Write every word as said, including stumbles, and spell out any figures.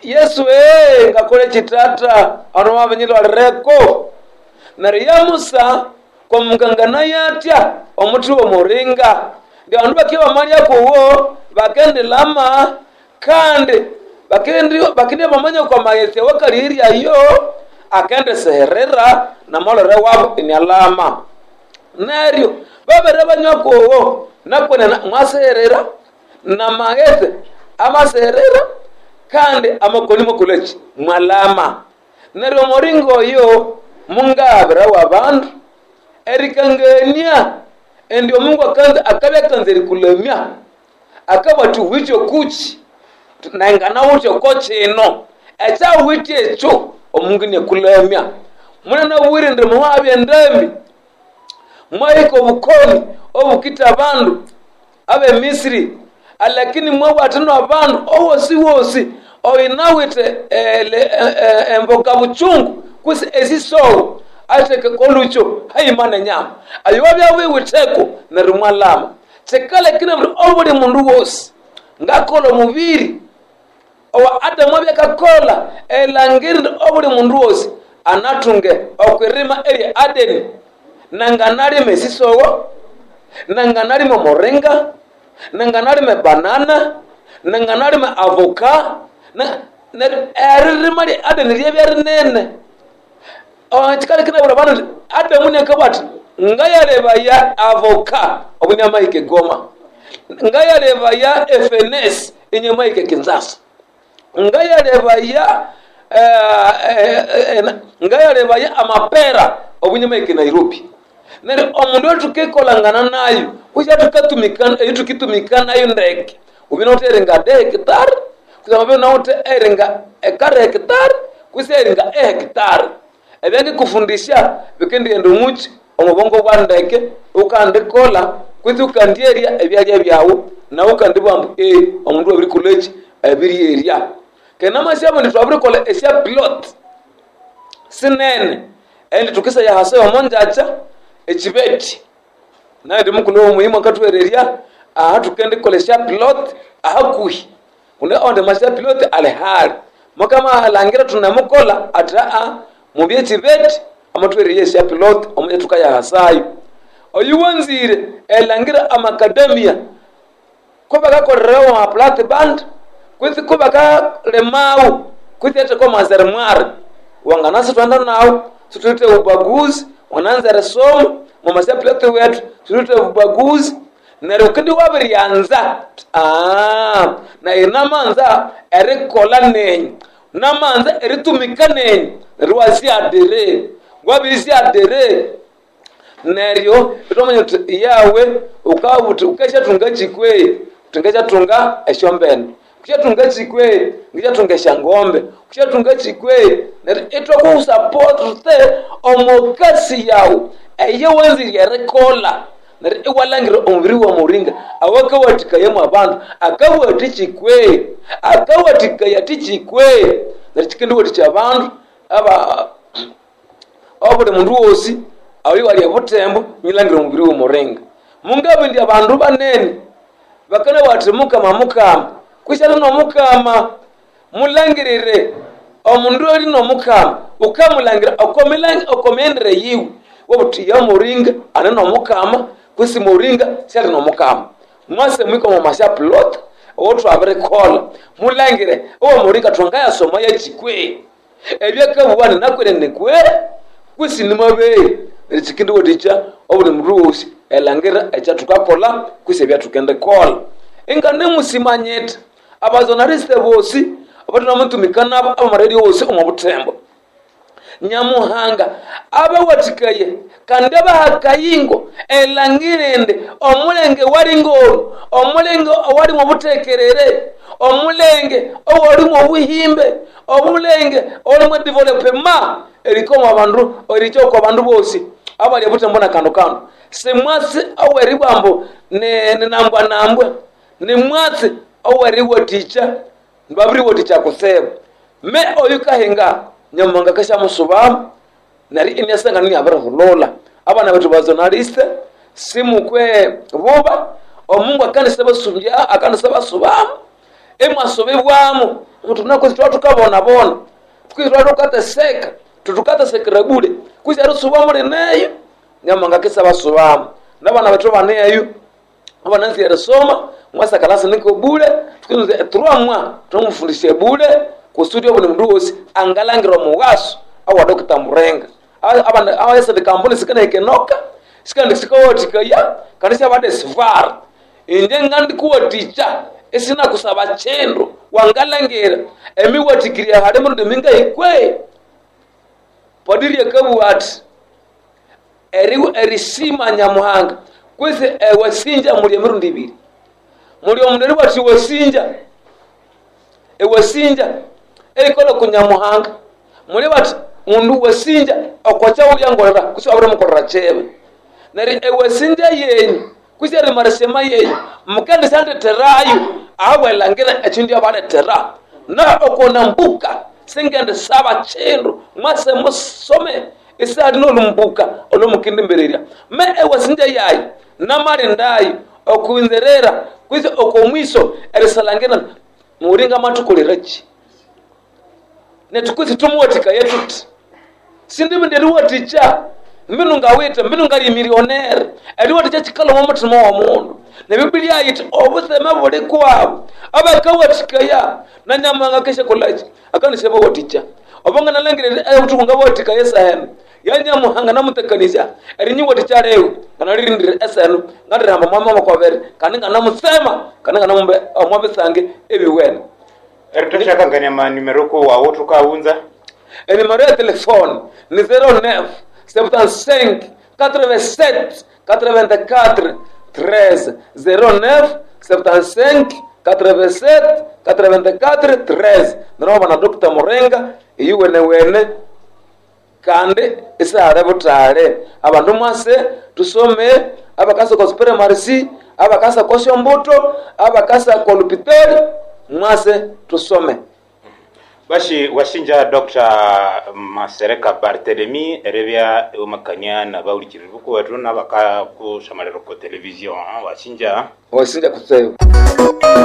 Yesu ee ngakole chitata ano mabinyilwalireko neryo yamusa kwamukangana yatya omuthi w'omuringa ndi abandu bakye bamalya kuwo bakendilama kandi bakendi bakende bamanya kwa maghetse wakaliryayo akendiseherera namalore wabo inyalama neryo babere banywa kuwo nakwenene mwaseherera namaghetse amaseherera kandi amakoni mokoleki mwalama neryo omuringa oyo mungabira w'abandu erikangania endi omungu akanza akabya akanza erikulamya akabwati withe kuki nengana wuthe ko kino ekyawithe ekyo omungu inyakulamya munanabwire indi muhabya endambi mwahika obukoni obukita abandu abemisiri alakini mwabwatino abandu owosi wosi oyinawithe emboka buchungu kwisi esisowo atheke kolucho haima nenyama ayo wabya wiwitheko neryo mwalama kikalekine buli obuli mundu wosi ngakola omubiri owa Adamu abyakakola elangiri obuli mundu wosi anathunge okwirima erya Adeni nanganalima esisowo nanganalima omuringa nanganalima ebanana nanganalima avoka eririma lya Adeni ryabya rinene kikalekine buli abandu Adamu niakabwa ati ngayalebaya avoka obunyamahike Goma ngayalebaya efenesi inyamahike Kinshasa ngayalebaya ngayalebaya amapera obunyamahike Nairobi neryo omundu otukikolangana nayo kusha tukatumikana etukitumikana nayo ndeke ubina uteringa de hectare kusema bina ute eringa ekare hectare kusa eringa e hectare ebyangikufundisha bikendighenda omuki omubongo bwa ndeke ukandikola kwitsi ukandierya ebyalya byawu nawe ukandibugha ambu ee omundu wabirikoleki abiryerya kenamasyabu indi twabirikolha esya plot sinene endi tukisaya hasi omonjacha ekibeti naye mukulhu womuhimu akathuhererya aha tukendikolha esya plot ahakuhi kundi ondi masya plot ali hali mukamalangira thunemukolha athi aa mubye ekibeti amathuhererya esya plot omuja thukayahasayo oyu wanzire elangira amakadamia kubakakolerawo amaplat band kwitsi kubakalimawo kwitsi atheka omwanzere wangana sithwenda nawu sithuwithe ubaguzi wananza erisoma mumasya plot wethu sithuwithe ubaguzi neryo ukindi wabiryanza aa nayi namanza erikolha nenyu namanza eritumika nenyu neryo wasyadere wabisyadere neryo ithwamanya thuthi yawe ukabuthi ukasyathunga kikwe uthi ngasyathunga esyombene kusyathunga kikwe ngisyathunga esyangombe kusyathunga kikwe neryo ithwakusapote omukasi yawu eyowanzire erikolha neryo iwalangira omubiri wa muringa awakawathikayamu abandu akawathi kikwe akawathikaya thikikwe neryo kikendiwathikya abandu aba obuli mundu wosi oyo wali obutembo nyilangira omubiri w'omuringa mungabindi abandu banene bakana bathi mukama mukama kwisi nomukama mulangirire omundu oli nomukama ukamulangira okomyendere yiwe wobuthi ya muringa ane nomukama kwisi muringa syali nomukama mwase mwika omu masya plot owotwabirikholha mulangire owo muringa thwangayasoma yakikwe ebyakabuwa ninakwene nikwe kwisi nimabeyi neryo kikindiwathikya obuli mundu wosi elangira ekyathukakolha kwisi ebyathukendikolha inganemusimanyitha abazonaliste bosi abathunamutumika nabo abamaradio wosi omu buthembo nyamuhanga abawathikaye kandi abahakayingo elangire indi omulenge walingolu omulenge owalimu obuthekerere omulenge owalimu obuhimbe omulenge owalimu edevelopema erikoma abandu erikya okwa bandu bosi abali obuthembo na kando kando simwatsi oweribwambu ninambwa nambwa nimwatsi oweriwathikya babiriwathikya kutsibu me oyu kahinga nyamuhanga kasyamusubamu neryo iniasangana iniabirihulula abana bethu bazonaliste simukwe buba omungu akandisabasumbya akandisabasubamu Emwasobebwamo mutunakozi twatukabonabona kwisi twatukateseka tutukatesekera bule kwisi erisuba muli neyo nyamanga kisabasubamo nabana bethu baneyo abananzi erisoma mwasakalasi niko bule tukinze turamwa tumufundishe bule kusudi obuli mundu wosi angalangira omuwaso awa Dokita Murenga abana awesende kampuni sikanahikenoka sikandi sikawathikaya kandi syabadesivara inje ngandikuwathikya esinakusaba kindu wangalangira emiwathikirya hali mirundi mingahikwe padiri akabugha ati eri erisima Nyamuhanga kwisi ewasinja muli emirundi ibiri muli omundu eriwathi wasinja ewasinja erikola ku Nyamuhanga muli bati mundu wasinja okwakyawulyangolera kwisi wabirimukolera kibi neryo ewasinja yenyu kwisi erimarisema yenyu mukendisyanditterayo ahabwelangira ekindu yabalethera na okonambuka singendisaba kindu mwase musome isihali nolumbuka olwomukindimbererya me ewasinja yayo namalindayo okwinzerera kwisi okomwiso erisalangira mulinga mathukoleraki nethu kwisi tumuwathikaye thuthi sindibindi eriwathikya mbinu ngawithe mbinu ngali milionere eriwathikya kikalhwa omuthima womundu nebibilia yithi obutseme buli kwabu abakawathikaya na Nyamuhanga akesyakolaki akanisyabawathikya obo nganalhangira obuthuku ngabawathikaya eseheno ya Nyamuhanga namutekanizya erinyiwathikya liwe nganalirindira eseheno ngalirihamba mwami wakwabiri kandi nganamutsema kandi nganamumba omwabisange ebiwene erithusyakangania manimero kowawu thukawunza enimero ya telefone ni zero nine septante-cinq quatre-vingt-sept quatre-vingt-quatre treize zero nine septante-cinq quatre-vingt-sept quatre-vingt-quatre treize nirobana na Dokita Murenga eyiwenewene kandi isihali buthali abandu mwase tusome abakasa kwa supremarisi abakasa kwa syombuto abakasa kwa lupitali mwase tusome bashi washinja Doctor Masereka Barthelemy erebya omakania nabawulikiriri bukuwethu nabakakusamalira ko television washinja wasinja kuseyo.